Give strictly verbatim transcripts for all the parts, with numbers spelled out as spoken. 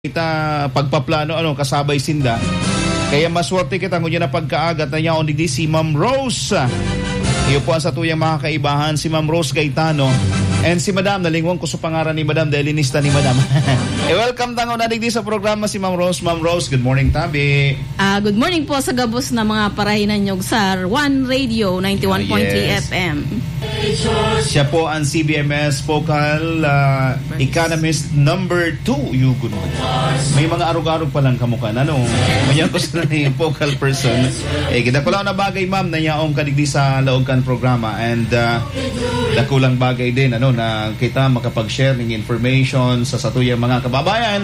kita pagpaplano, ano, kasabay sinda. Kaya maswerte kita ngunyan na pagkaaga ta yaon digdi si Ma'am Rose. Iyo po ang satuyang mga kaibahan, si Ma'am Rose Gaetano. And si Madam, nalingwan ko sa pangaran ni Madam, dahil linista ni Madam. I-welcome ta nguna digdi sa programa si Ma'am Rose. Ma'am Rose, good morning, tabi. Ah, good morning po sa gabos na mga parahinanyog sa One Radio ninety-one point three Ah, yes. F M. Siya po ang C B M S focal, ah, First. Economist number two. Yugon mo. May mga arog-arog pa lang kamukha na, no? Mayan ko sa yung focal person. Eh, kita ko lang na bagay, ma'am, na yaong kadigdi sa laog kan programa. And, ah, dakulang bagay din, ano, na kita makapag-share ng information sa satuyang mga kababayan.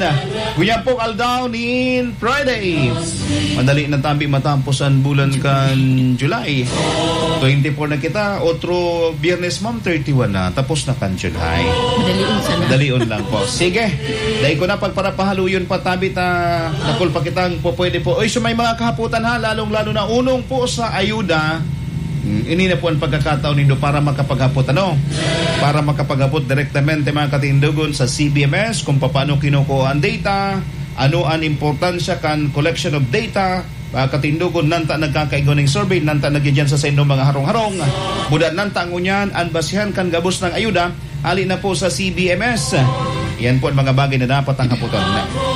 Ngunyan po, aldaw nin Friday. Madali na tabi matapos ang bulan kan July. Twenty-four na kita. Otro Biyernes, ma'am, thirty-one na. Tapos na kan July. Madalion sana. Madalion lang po. Sige. Dahil ko na pagparapahaluyon pa, tabi ta, dakul pa kitang po pwede po. Oy, so may mga kahaputan ha, lalong-lalo na unong po sa ayuda. Hmm, ini na po ang pagkakataon nindo para makapaghapot, ano? Para makapaghapot direktamente, mga katindogon, sa C B M S kung paano kinukuha ang data, ano ang importansya kan collection of data, ah, katindogon, nanta nagkakaigwa ning survey, nanta nagyadyan sa saindong mga harong-harong. Buda nanta ngunyan, ang basihan kan gabos ng ayuda, hali na po sa C B M S. Yan po ang mga bagay na dapat ang haputon.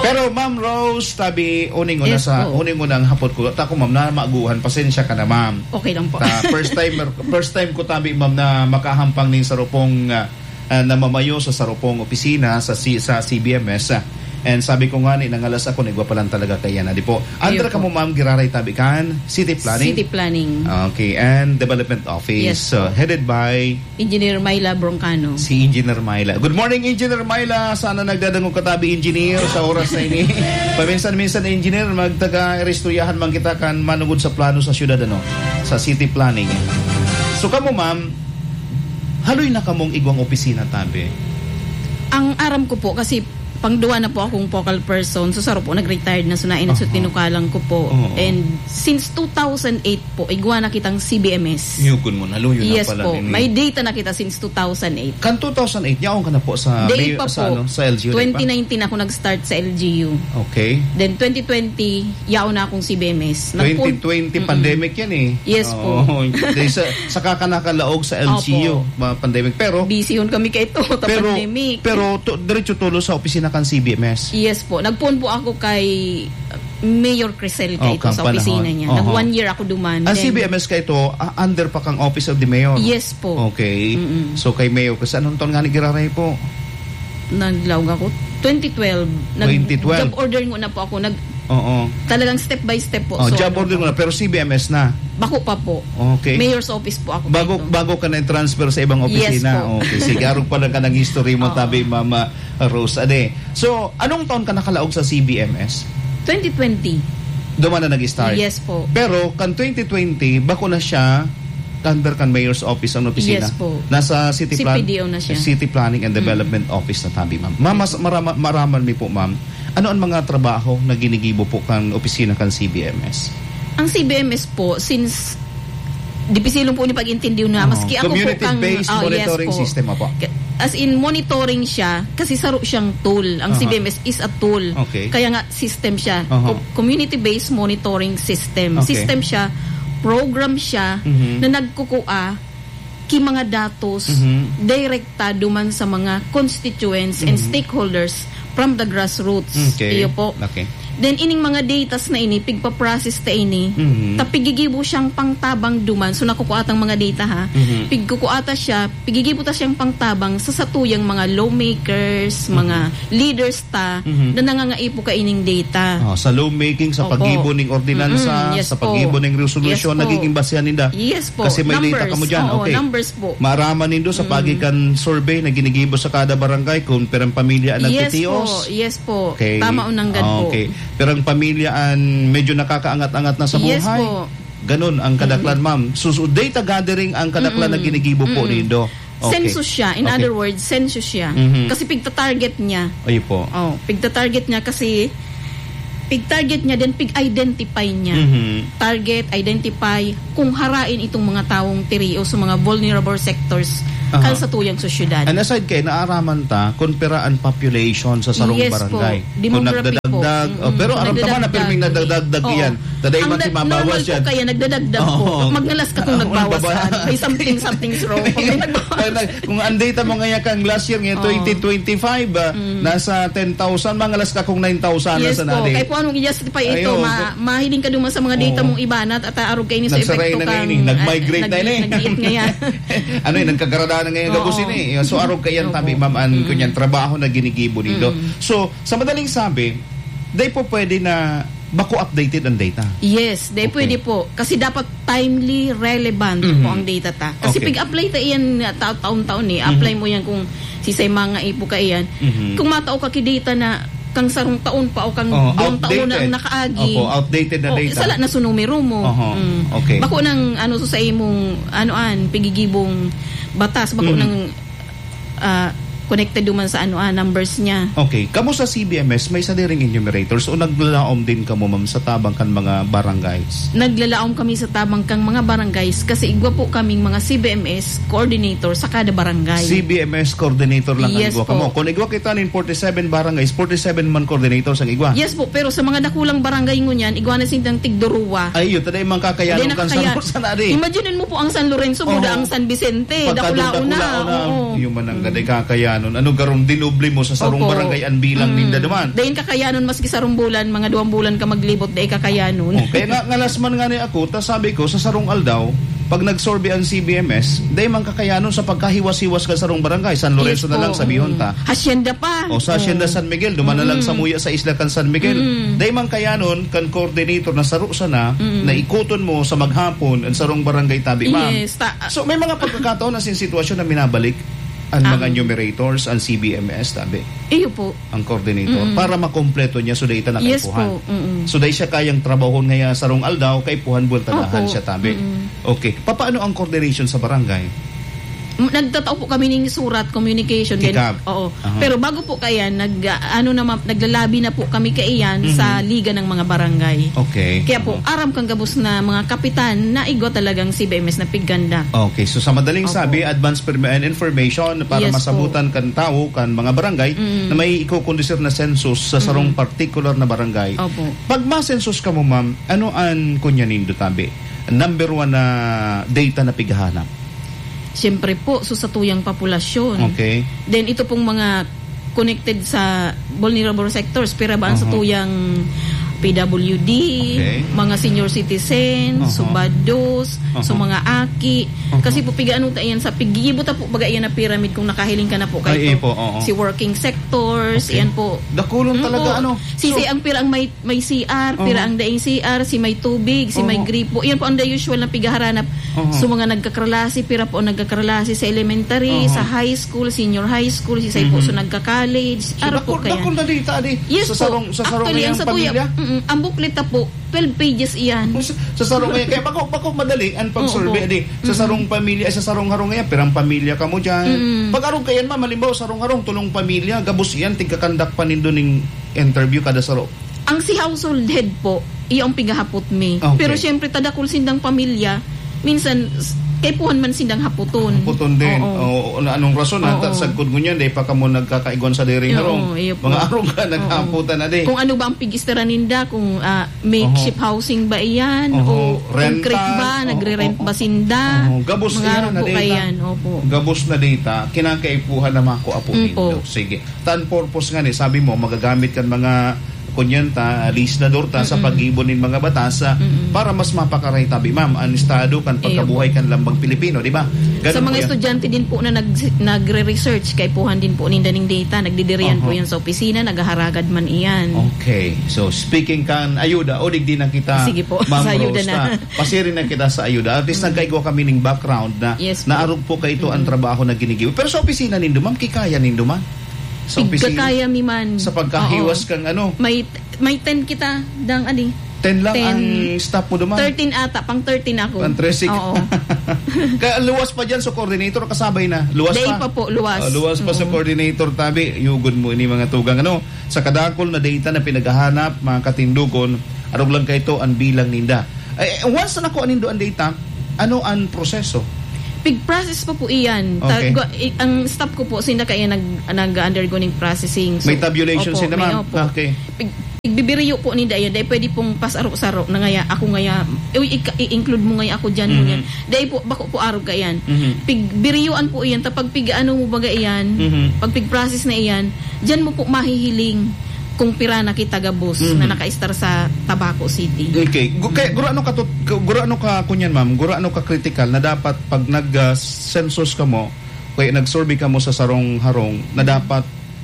Pero Ma'am Rose, tabi, uning una Yes sa, po. uning unang hapot ko. Tako, ma'am, na maguhan. Pasensya ka na, ma'am. Okay lang po. Ta, first time, first time ko, tabi, ma'am, na makahampang ning sarupong, ah, ah, namamayo sa sarupong opisina sa C-, sa C B M S, ah. And sabi ko nga ni, nangalas ako, nagwa pa lang talaga kaya na, di po. Under Ayun ka po. mo, ma'am, giraray, tabi, kan City Planning? City Planning. Okay, and Development Office. Yes So, po. headed by Engineer Myla Broncano. Si Engineer Myla. Good morning, Engineer Myla. Sana nagdadangog ka, tabi, Engineer, sa oras na ini. Paminsan-minsan, Engineer, magtaga-iristoryahan man kita kan manugod sa plano sa syudad, ano? Sa city planning. So, kamo, ma'am, haloy na kamong igwang opisina, tabi? Ang aram ko po, kasi pangduwa na po akong focal person. So, saro po, nag-retired na. So, nainot sa Aha. tinukalan ko po. Oo. And since two thousand eight po, igwa na kitang C B M S. Yugon mo, naluyo na Yes pala po. nin May data na kita since two thousand eight. Kan two thousand eight, yaon ka na po sa Dai may-, pa sa po. ano, sa L G U, di ba? Twenty nineteen ako nag-start sa L G U. Okay. Then twenty twenty, yaon na akong C B M S. Nagpun- Twenty twenty, Mm-mm. pandemic yan eh. Yes po. Oo. Di sa, saka ka nakalaog sa L G U, Opo. mga pandemic. Pero, Busy yun kami kay ito, ta pero, pandemic. pero to, diretso tulo sa opisina kan C B M S. Yes po. Nagpuon po ako kay Mayor Crisel Oh, kay ito kang sa opisina panahon. niya. Nag Oho. one year ako duman. Ang Then, C B M S ka ito, ah, under pa kang Office of the Mayor? Yes po. Okay. Mm-mm. So, kay Mayor, kasi anong taon nga ni giraray po? Naglaog ako. Twenty twelve. Nag-, Twenty twelve. job order muna po ako. Nag-, Oo. talagang step by step po. Oh, So, job ano order po. muna, pero C B M S na? Bako pa po. Okay. Mayor's office po ako Bago, dito. bago ka na-transfer sa ibang Yes opisina? po. Okay, sige. Arog pa lang ka ng history mo, Oo. tabi, Mama Rose. Ade. So, anong taon ka nakalaog sa C B M S? Twenty twenty. Duman na nag-start? Yes po. Pero, kan twenty twenty, bako na siya under kan Mayor's Office ang opisina. Yes po. Nasa City Plan-, C P D O na siya. City Planning and Mm. Development Office na tabi, ma'am. Ma'am, mas Yes po. marama-, maraman mi po, ma'am. Ano ang mga trabaho na ginigibo po kan opisina kan C B M S? Ang C B M S po, since dipisilon po ni pag-intindihan na, Oo. maski ako po kang Community-based Oh, yes monitoring po. system, apo. Ka-, as in, monitoring siya kasi saro siyang tool. Ang Aha. C B M S is a tool. Okay. Kaya nga, system siya. Aha. Co-, community-based monitoring system. Okay. System siya, program siya Mhm. na nagkukua ki mga datos Mhm. direkta duman sa mga constituents and Mhm. stakeholders from the grassroots. Okay. Iyo po. Okay. Then, ining mga datas na ini, pigpa-process ta ini, Mhm. ta pigigibo siyang pangtabang duman. So, nakukua tang mga data, ha? Mhm. Pigkukua ta siya, pigigibo ta siyang pangtabang sa satuyang mga lawmakers, Mhm. mga leaders ta, Mhm. na nangangaipo kaining data. Oh, sa lawmaking, sa Opo. paggibo ning ordinansa, Mm-mm, yes sa po. paggibo ning resolusyon, Yes po. nagiging basehan ninda. Yes po. Kasi may data Numbers. kamo dyan. Oo, Okay. numbers po. Maaraman nindo sa Mm. pagikan survey na ginigibo sa kada barangay kung pirang pamilya ang Yes nagtitios. po, yes po. Okay. Tama o nanggad po. Okay. Pirang pamilya ang medyo nakakaangat-angat na sa Yes buhay. po. Ganun ang kadaklan, Mm. ma'am. So, so, data gathering ang kadaklan na Mm. ginigibo po Mm. nindo. Okay. Census siya. In Okay. other words, census siya. Mhm. Kasi pigta-target niya. Ayun po. Oh, pigta-target niya kasi Pig-target niya, then pig-identify niya. Mhm. Target, identify, kung harain itong mga tawong tiriyo sa mga vulnerable sectors Aha. kan sa tuyang sosyedad. And aside kay, naaraman ta, kung pira ang population sa sarong Yes po. barangay. Kung Demography po. nagdadagdag, oh, Mm-mm. pero aram ta man na Nagdadagdag. pirming nadadagdag Oo. iyan. Tadai Ang man nag-, timabawas normal po yan. kaya, nagdadagdag po. Oo. Magngalas ka kung Oo, nagbawas nagbabawas. ka. May something, something's wrong. Kung may nagbawas. Kaya na, kung ang data mo ngayon kang last year, ngayon, Oo. twenty twenty-five, ah, Mm. nasa ten thousand, mangalas ka kung nine thousand na Yes sana po. di. Kaya po, ano, i-justify ito, Ayaw, ma-, mahiling ka duman sa mga data Oo. mong iba na at arog kayo ni sa Nagsaray epekto na kang, ngayon eh. Nag-migrate ah, na nag-, yun eh. nag-iit ngayon. Ano eh, nagkagara na ngayon gabos Oo. yun eh. So, arog kayan Opo. tabi, ma'am, an Mm. kunyan trabaho na ginigibo nindo. Mm. So, sa madaling sabi, dai po pwede na bako updated ang data. Yes, dai Okay. pwede po. Kasi dapat timely, relevant Mhm. po ang data ta. Kasi Okay. pig-apply ta iyan nga ta-, taon-taon eh. Apply Mhm. mo yan kung sisay mga ipo ka iyan. Mhm. Kung matao ka ki data na kang sarong taon pa o kang Oh, duwang taon na outdated. ang nakaagi. Opo, outdated na Oh, data. sala na sa numero mo. Oho, Mm. okay. Bako nang ano sa, sa imong, ano an, pigigibong batas, bako Mhm. nang, ah, connected duman sa ano, ah, numbers niya. Okay. Kamo sa C B M S, may sadiring enumerators o naglalaom din kamo, ma'am, sa tabang kan mga barangays? Naglalaom kami sa tabang kang mga barangays kasi igwa po kaming mga C B M S coordinator sa kada barangay. C B M S coordinator lang ang Yes igwa po. kamo. Kung igwa kita nin forty-seven barangays, forty-seven man coordinators ang igwa? Yes po, pero sa mga dakulang barangay ngunyan, igwa na sindang tigduruwa. Ay, yun, taday man kakayanon Hindi kan San nakakaya-, Ros-, sana di. Imagine mo po ang San Lorenzo, Oo. buda ang San Vicente, Pagka dakula-una. dakula-una, Oo. yun man ang Mm. gaday kakayanon. Ano, garong dinoble mo sa sarong Opo. barangay ang bilang Mm. ninda duman? Dayon kakayanon, maski sarong bulan, mga duwang bulan ka maglibot, dai kakayanon. Oh, kaya nga, ngalas man nga ni ako, ta sabi ko, sa sarong aldaw, pag nag-survey ang C B M S, dai man kakayanon sa pagkahiwas-hiwas ka sarong barangay, San Lorenzo Yes na lang, po. sabihon Mm. ta. Hacienda pa. O sa Hacienda Oh. San Miguel, duman na lang Mm. sa muya sa isla kan San Miguel. Mm. Dai man kayanon kan coordinator na saro sana, Mm. na ikuton mo sa maghapon ang sarong barangay tabi, ma'am. Yes, ta- So, may mga pagkakataon na sin sitwasyon na minabalik ang Ang mga enumerators, ang C B M S, tabi. Iyo po. Ang coordinator, Mm. para makompleto niya, so dai ta na Yes kaipuhan. po. Mm. So, dai siya kayang trabahon ngaya sarong aldaw, kaipuhan buwan tadahan Opo. siya, tabi. Mm. Okay. Papaano ang coordination sa barangay? M-, nagtatao po kami ning surat, communication, then, Kikab. oo. Aha. Pero bago po kaiyan, nag, ah, ano naman, naglalabi na po kami kaiyan Mhm. sa Liga ng mga Barangay. Okay. Kaya po, Aha. aram kang gabos na mga kapitan na igwa talagang C B M S na pigganda. Okay, so sa madaling Opo. sabi, advance permi-, and information para Yes po. masabutan kan tawo, kan mga barangay Mm. na may ikokondusir na census sa sarong Mm. partikular na barangay. Opo. Pag masensus kamo, ma'am, ano an kunya nindo, tabi? Number one na data na pighahanap? Siyempre po, so sa tuyang populasyon. Okay. Then ito pong mga connected sa vulnerable sectors, pira ba ang sa Aha. tuyang P W D, Okay. mga senior citizen, Aha. subados, Aha. so mga aki. Aha. Kasi po, pigaano ta yan sa, pigibo ta po, baga yan na pyramid kung nakahiling ka na po Ay, kayo eh po, oo. si working sectors, Okay. yan po. Dakulon Mm talaga, po. ano? Sisi So ang pira ang may may C R, pira Oo. ang daing C R, si may tubig, si may Oo. gripo. Yan po ang the usual na pigaharanap. Oo. So, mga nagkakralasi, pira po ang nagkakralasi sa elementary, Oo. sa high school, senior high school, si say po, Mhm. so nagka-college. So, Araw po dakul, kaya. dakul na data, di? Yes Sa po. sarong, sa sarong Actually, ang ngayang sa tuya, pamilya? mm, ang booklet na po, twelve pages iyan. Sa, sa sarong ngayon, kaya bako, bako madali ang pag-survey, Oo po. di? Sa Mm. sarong pamilya, sa sarong harong ngayon, pirang pamilya ka mo dyan. Mm. Pag arog kayan, ma'am, halimbawa, sarong harong, tulong pamilya, gabos iyan, tigkakandak pa nindo ning interview kada saro. Ang si household head po, iyo ang pigahapot mi. Okay. Pero siyempre, tadakul sindang pamilya, minsan, s-, kaipuhan man sindang haputon. Haputon din. Oo. Oo, na anong rason? Oo. Ata, sagkod ngunyan, dahil pa kamo nagkakaigwan sa dairy Oo, harong. iyo po. Mga arong ka, Oo. naghahaputan na di. Kung ano ba ang pig-istara ninda, kung, ah, makeshift Oho. housing ba iyan, Oho. o Rental. concrete ba, Oo, nagre-rent oo, ba oo. sinda? Oo, gabos Mga iyan, arong po nadita. kayan, opo. Gabos na data, kinakaipuhan na mako apo Mm, nindo. po. Sige. Tan purpose nga ni, sabi mo, magagamit kan mga kunyanta, legislador ta sa Mm-mm. paggibo nin mga batas, ah, Mm-mm. para mas mapakaray tabi, ma'am, ang estado kan Iyo pagkabuhay po. kan lambang Pilipino, di ba? Ganun Sa mga po yan. estudyante din po na nag-, nagre-research, kaipuhan din po ninda ning data, nagdidiriyan po Aha. yan sa opisina, naghaharagad man iyan. Okay. So, speaking kan ayuda, o digdi na kita, Sige po, Ma'am sa ayuda Rose, na. na pasirin na kita sa ayuda. At least Mm. nagkaigwa kami ning background na Yes po. naarog po kaito ang Mm. trabaho na ginigibo. Pero sa opisina nindo, ma'am, kikaya nindo, ma'am? Sa opisina, Tigkakaya mi man. sa pagkahiwas Oo. kang ano? May, may ten kita, dang, adi. Ten lang ang staff mo duman? Thirteen ata, pang thirteen ako. Pang thirteen. Oo. Kaya luwas pa dyan sa coordinator, kasabay na. Luwas pa. Day pa po, luwas. Oh, luwas pa sa coordinator, tabi. Yugod mo ini mga tugang. Ano, sa kadakol na data na pinaghahanap, mga katindogon, arog lang kaito ang bilang ninda. Eh, once na nakuha nindo ang data, ano ang proseso? Pig-process pa po iyan. Ta-, Okay. gwa-, i-, ang staff ko po, sinda kaya nag-, nag-undergo ning processing. So, May tabulation opo, sinda, may, ma'am? opo. Okay. Pig-, pigbibiriyo po ninda iyan, dahil pwede pong pasaro-saro na ngaya, ako ngaya, uy, ika-, i-include mo ngaya ako dyan, Mhm. ngunyan. Dahil po, bako po arog ka iyan. Mhm. Pigbiriyoan po iyan, tapag pig-ano mo baga iyan, Mhm. pag pig-process na iyan, dyan mo po mahihiling kung pira na kita gabos Mhm. na naka-star sa Tabaco City. Okay. Gu-, kaya, guro ano ka tut-, gu-, guro ano ka, kunyan, ma'am? Guro ano ka critical na dapat pag nag, ah, census ka mo, kaya nag-survey ka mo sa sarong harong, na dapat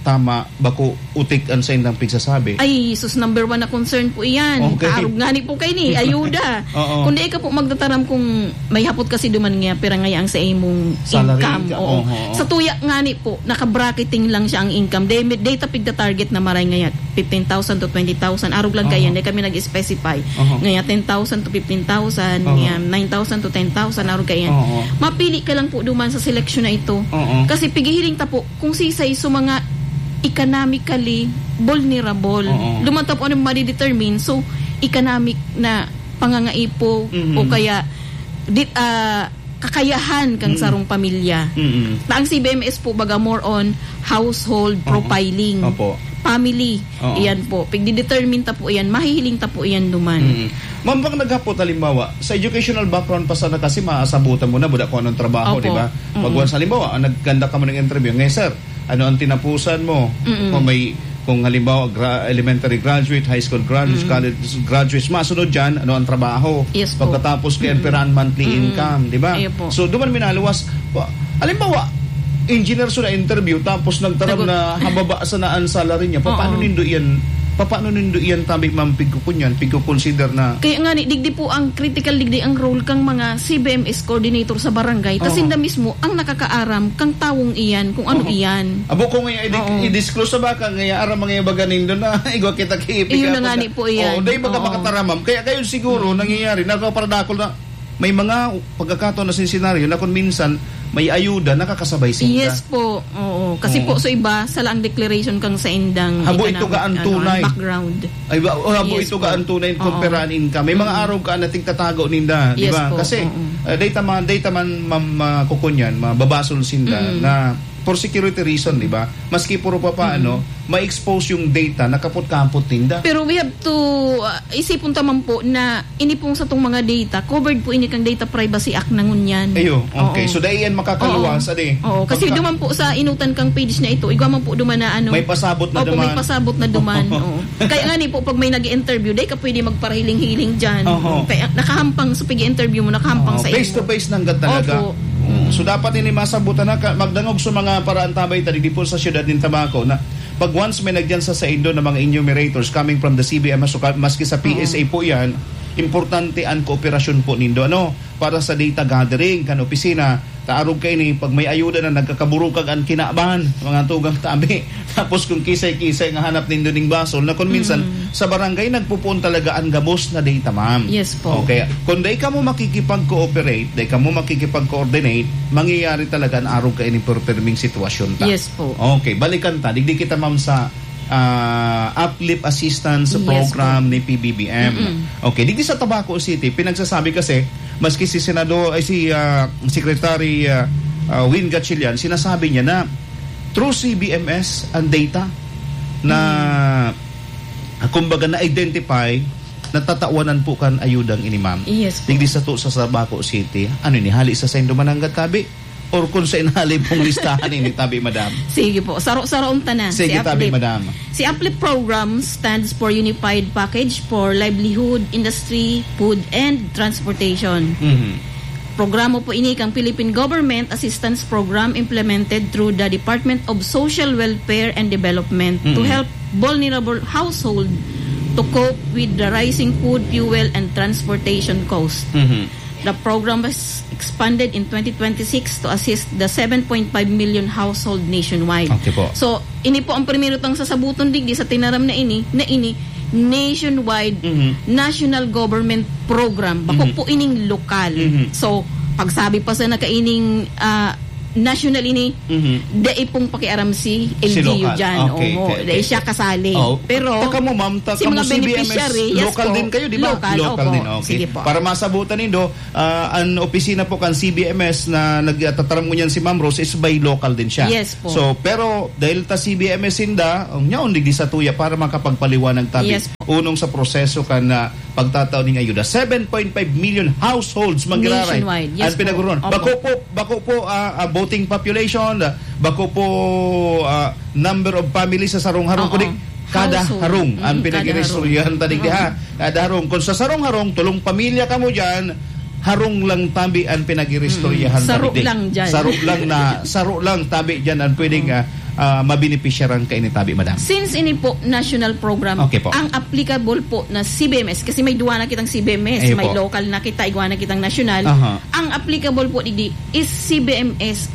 tama, bako utik ang saindang pigsasabi? Ay, sus, number one na concern po iyan. Okay. Kaarog ngani po kayo ni, ayuda. Oo. Kung di ka po magtataram kung may hapot kasi duman nga, pira nga ang sa imong Salary income. ka, Oo. oho. Sa tuya ngani po, naka-bracketing lang siya ang income. Day, day ta pigta-target na maray ngaya, fifteen thousand to twenty thousand. Arog lang Oho. kayan, day kami nag-specify. Oho. Ngaya, ten thousand to fifteen thousand, Oho. ngaya, nine thousand to ten thousand, arog kayan. Oho. Mapili ka lang po duman sa seleksyon na ito. Oo. Kasi pigihiling ta po, kung sisay sa mga economically vulnerable. Oo. Duman ta po ano madidetermine, so economic na pangangaipo Mhm. o kaya di, ah, kakayahan kang Mm. sarong pamilya. Mm. Na ang C B M S po baga more on household Oo. profiling. Opo. Family. Oo. Iyan po. Pigdidetermine ta po iyan. Mahihiling ta po iyan duman. Mm. Ma'am, bang naghapot, halimbawa, sa educational background pa sana kasi maasabutan mo na, buda kung anong trabaho, Opo. di ba? Pag Mm. once, halimbawa, ang nagkanda ka mo ng interview, "Ngayon, sir, ano ang tinapusan mo?" Mm. Kung may, kung halimbawa, gra-, elementary graduate, high school graduate, Mm. college graduate, masunod dyan, ano ang trabaho? Yes po. Pagkatapos, kaya Mm. pera ang monthly Mm. income, di ba? Iya po. So, duman minaluwas. Wa-, halimbawa, engineer sa na-interview, tapos nagtaram Nag- na hababa sana ang salary niya. Pa-, Oo. paano nindo iyan, pa-, paano nindo iyan tabi, ma'am, pigkukunyan, pigkukonsider na Kaya nga ni, digdi po ang critical, digdi ang role kang mga C B M S coordinator sa barangay. Ta Oo. sinda mismo ang nakakaaram kang tawong iyan, kung ano Oo. iyan. Abo ko ngayon, i-di-, Oo. i-disclose sa baka, ngayon, aram mga ibaga nindo na, igwa kita kiipig Iyon na ako nga na ni po iyan. Oo, dahil baga Oo. makataram, ma'am. Kaya kayo siguro, Mm. nangyayari, nagpaparadakol na, may mga pagkakataon na sin senaryo na kung minsan, may ayuda, nakakasabay sinda. Yes po. Oo. Kasi Oo. po, sa iba, sala ang declaration kang sa indang Habo ito economic, ka ang ano, tunay. background. Ay, ba, oh, habo Yes ito po. ka ang tunay Oo. kung pera ang income. May mga Mm. araw ka na tigtatago ninda, di Yes ba? po. Kasi, Oo. eh, data man, data man, ma-, makukunyan, mababasol sinda Mm. na for security reason, di ba? Maski puro pa paano, Mm. ma-expose yung data na kapot-kapot ninda. Pero we have to, ah, isipon ta man po na ini pong satong mga data, covered po ini kang Data Privacy Act na ngunyan. Ayo, okay. Oo. So, dai yan makakaluwas, Oo. adi? Oo, kasi Pagka- duman po sa inutan kang page na ito, igwa man po duman na ano. May pasabot na Opo, may duman. pasabot na duman. Oo. Kaya nga ni po, pag may nag-interview, dai ka pwede magparahiling-hiling dyan. Oho. Kaya nakahampang sa pag-interview mo, nakahampang Oo, sa face imo. to face na agad talaga. Opo. Oo. Mm. So, dapat ini masabutan na ka, magdangog sa mga paraantabay ta digdi po sa siyudad nin Tabaco na pag once may nagyan sa saindo na mga enumerators coming from the C B M, so ka-, maski sa Mm. P S A po yan, importante ang kooperasyon po nindo, ano, para sa data gathering kan opisina. Taarog kaini, pag may ayuda na nagkakaburukag ang kinaban, mga tugang tabi. Tapos kung kisay-kisay nga hanap nindo ning basol, na kung minsan, Mm. sa barangay nagpupuon talaga ang gabos na data, ma'am. Yes po. Okay. Kung dai kamo makikipag-cooperate, dai kamo makikipag-coordinate, mangyayari talaga ang arog kaini perperming sitwasyon ta. Yes po. Okay, balikan ta. Digdi kita, ma'am, sa, ah, Uplift Assistance Yes Program po. ni P B B M. Mm-mm. Okay, digdi sa Tabaco City, pinagsasabi kasi, maski si Senador, ay, si, ah, Secretary, ah, ah, Win Gatchalian, sinasabi niya na through C B M S ang data na, Mm. ah, kumbaga, na-identify, natatawanan po kan ayudang ini, ma'am. Yes po. Digdi sa to, sa Tabaco City, ano ini, hali sa saindo man nanggad tabi? Or kung sa inhali pong listahan ini, tabi, madam? Sige po. Saro-saroon ta na. Sige, Si tabi, Uplift. madam. Si Uplift Program stands for Unified Package for Livelihood, Industry, Food, and Transportation. Mhm. Programa po ini kang Philippine Government Assistance Program implemented through the Department of Social Welfare and Development to Mm. help vulnerable household to cope with the rising food, fuel, and transportation cost. Mhm. The program was expanded in twenty twenty-six to assist the seven point five million household nationwide. Okay po. So, ini po ang primero tang sasabuton digdi sa tinaram na ini, na ini, nationwide, Mhm. national government program. Bako Mhm. po ining lokal. Mhm. So, pagsabi pa sa nakaining, ah, national ini, Mhm. dai pong pakiaram si Si L G U lokal. dyan. Okay, Oo, okay, dai okay. siya kasali. Oh, Pero, ta kamo, ma'am, ta si kamo mga C B M S, beneficiary, yes local po. din kayo, di ba? Local, Local opo. din, okay. Sige po. Para masabutan nindo, ah, an opisina po kan C B M S na nagtataram ngunyan si Ma'am Rose is by local din siya. Yes po. So, pero dahil ta C B M S sinda, ang nyaon digdi sa tuya para makapagpaliwanag tabi. Yes po. Unong sa proseso kan, ah, pagtatao ning ayuda. Seven point five million households, Ma'am Giraray, Nationwide. Yes ang po. pinagurun. Opo. Bako po, bako po, ah, ah, voting population, ah, bako po, ah, number of families sa sarong harong, Oo. kundi kada Household. harong ang Mm, kada pinag-iristoryahan harong. tadig Oo. diha. Kada harong. Kung sa sarong harong, tulong pamilya kamo dyan, harong lang tabi ang pinag-iristoryahan Mm, saro tabi di. lang dyan. Saro lang na, saro lang tabi dyan ang pwedeng, Oo. ah, ah, mabenepisyaran kaini tabi, madam. Since ini po national program, Okay po. ang applicable po na C B M S, kasi may duwa na kitang C B M S, Ayun may po. local na kita, igwa na kitang national. Aha. Ang applicable po digdi is C B M S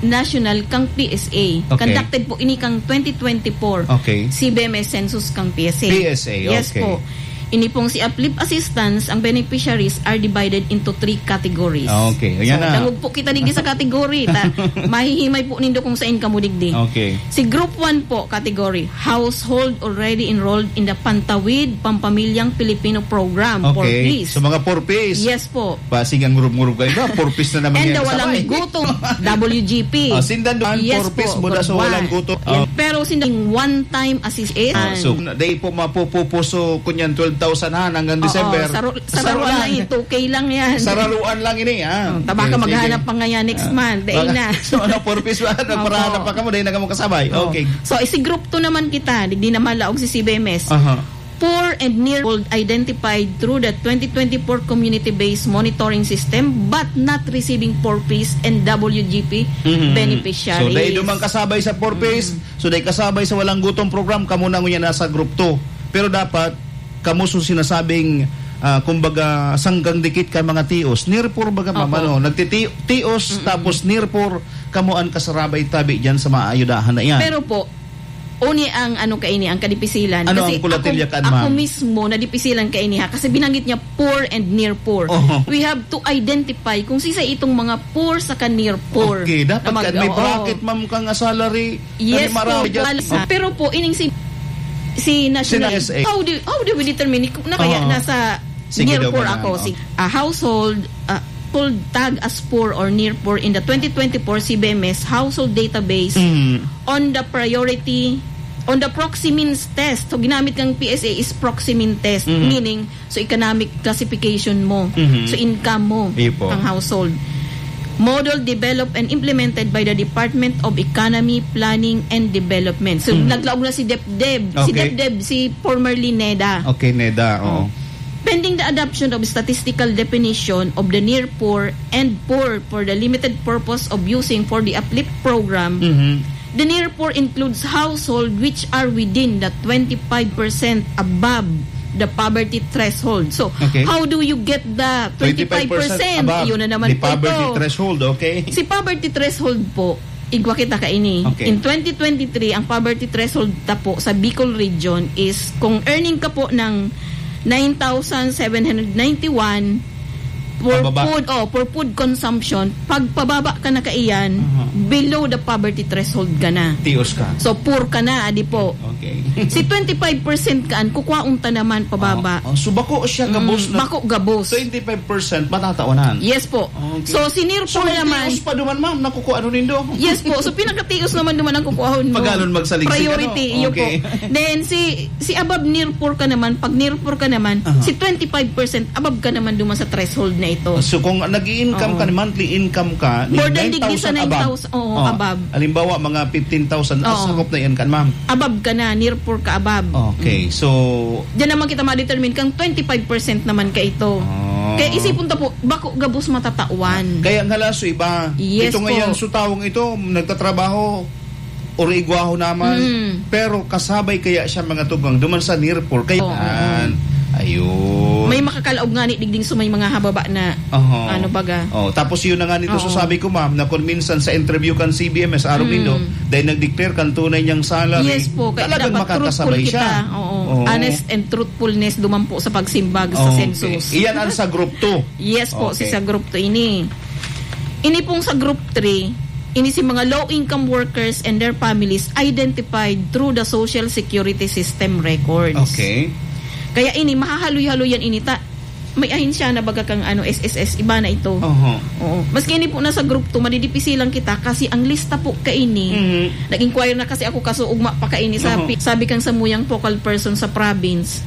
national kang P S A. Okay. Conducted po ini kang twenty twenty-four Okay. C B M S census kang P S A. P S A, Yes okay. po. Ini pong si uplift assistance, ang beneficiaries are divided into three categories. Ah, okay. Ayan So, na. dangog po kita digdi sa category. Ta, mahihimay po nindo kung saan kamo digdi. Okay. Si group one po category, household already enrolled in the Pantawid Pampamilyang Pilipino Program, Okay. four Ps. So, mga four Ps. Yes po. Basig ang ngurub-ngurub kayo ba? Four Ps na naman And yan the sa Walang sabay. Gutom, W G P. Ah, sindan doon, Yes four Ps, po, buda sa for Walang one. Gutom. Yan. Ah. Pero sindan one-time assistance. Ah, so, na, day po mapupupuso kunyan twelve thousand han hanggang Oo, December. saro-, Saro sararuan lang. lang, two K lang yan. Sararuan lang ini, ah. Oh, tabaka Okay, sige. maghanap pa ngayon next Ah, month. Day baka, na. so, ano, four Ps ba? Opo. Nagparahanap pa kamo, day na kamo kasabay. Oh. Okay. So, isi group two naman kita, digdi na malaog si C B M S. Aha. Poor and near poor identified through the twenty twenty-four community-based monitoring system but not receiving four Ps and W G P Mhm. beneficiaries. So, dahil dumang kasabay sa four Ps, Mm. so, dahil kasabay sa Walang Gutom program, kamo na ngunyan nasa group two. Pero dapat, kamo so sinasabing, ah, kumbaga, sanggang dikit kay mga tios. Near poor baga, ma'am, Opo. ano? Nagtiti-, tios, Mm-mm. tapos near poor, kamo ang kasarabay tabi dyan sa mga ayudahan na yan. Pero po, uni ang ano kaini, ang kadipisilan. Ano Kasi ang kulatilya ako, kan, ako ma'am? mismo nadipisilan kaini ha, kasi binanggit niya poor and near poor. Oho. We have to identify kung sisay itong mga poor saka near poor Okay, dapat na mag-, ka, may oo. bracket, ma'am, kang salary. Yes Kani marami po, dyan. wala sa, pero po, ining si, si National, Si N S A. how do, how do we determine kung na kaya Oo. nasa Sige near daw poor ba na, ako? oo. Si, ah, household, ah, household tag as poor or near poor in the twenty twenty-four C B M S household database Mm. on the priority, on the Proximeans test. So, ginamit kang P S A is Proximeans test, Mm. meaning, so, economic classification mo. Mhm. So, income mo, Iyo po. ang household. Model developed and implemented by the Department of Economy, Planning, and Development. So, Mhm. naglaog na si DepDep. Si Okay. DepDep, si formerly NEDA. Okay, NEDA, oo. Oh. Pending the adoption of statistical definition of the near poor and poor for the limited purpose of using for the uplift program, Mhm. the near poor includes household which are within the twenty-five percent above the poverty threshold. So, Okay. how do you get the twenty-five percent? Twenty-five percent above Yun na naman the po poverty ito. threshold, okay? Si poverty threshold po, igwa kita kaini. Okay. In twenty twenty-three, ang poverty threshold ta po sa Bicol region is kung earning ka po ng nine thousand seven hundred ninety-one for Pababa. food, oh, for food consumption, pag pababa ka na kaiyan, Aha. below the poverty threshold ka na. Tios ka. So, poor ka na, adi po. Okay. Si twenty-five percent kaan, kukwaon ta naman pababa. Oh, oh, so bako siya gabos Mm, na bako gabos. Twenty-five percent matatawanan. Yes po. Okay. So, si near So, poor may naman tios pa duman, ma'am, nakukuha ano nindo? Yes po. So, pinakatios naman duman ang kukuhahon mo. Pag ganun magsalig-sig, Priority, ano? iyo Okay. po. Then, si, si above near poor ka naman, pag near poor ka naman, Aha. si twenty-five percent above ka naman duman sa threshold na ito. So, kung nag-i-income Oo. ka, monthly income ka, More than nine thousand digdi sa above. nine thousand, oo, Oh, above. halimbawa, mga fifteen thousand, ah, Oo. sakop na yan kan, ma'am. Above ka na, near poor ka above. Okay, Mm. so Diyan naman kita ma-determine kang twenty-five percent naman ka ito. Oh. Kaya isipon ta po, bako gabos matatawan. Kaya nga la, so iba. Yes Ito po. ngayon, so taong ito, nagtatrabaho, or igwaho naman, Mm. pero kasabay kaya siya mga tugang, duman sa near poor. Kaya, Oo, oo. Yan. Ayun. May makakalaog nga ni digding so may mga hababa na, Aha. ano baga. Oh, tapos yun na nga nito, so Oo. sabi ko, ma'am, na kung minsan sa interview kan C B M S, araw Mm. nindo, dahil nag-declare kan tunay niyang salary, Yes po, kaya talagang dapat makakasabay truthful siya. kita. Oo. Oo. Honest and truthfulness duman po sa pagsimbag sa Okay. census. Iyan ang sa group two. Yes po, Okay. Si sa group two ini. Ini pong sa group three, ini si mga low-income workers and their families identified through the Social Security System records. Okay. Kaya ini, mahahaloy-haloy yan ini. Ta, may ahensya na baga kang ano, S S S, iba na ito. Oho. Oo. Maski ini po nasa group two, madidipisilan kita kasi ang lista po kaini, Mhm. nag-inquire na kasi ako kaso ugma pa kaini sa Oho. pi- sabi kang samuyang focal person sa province,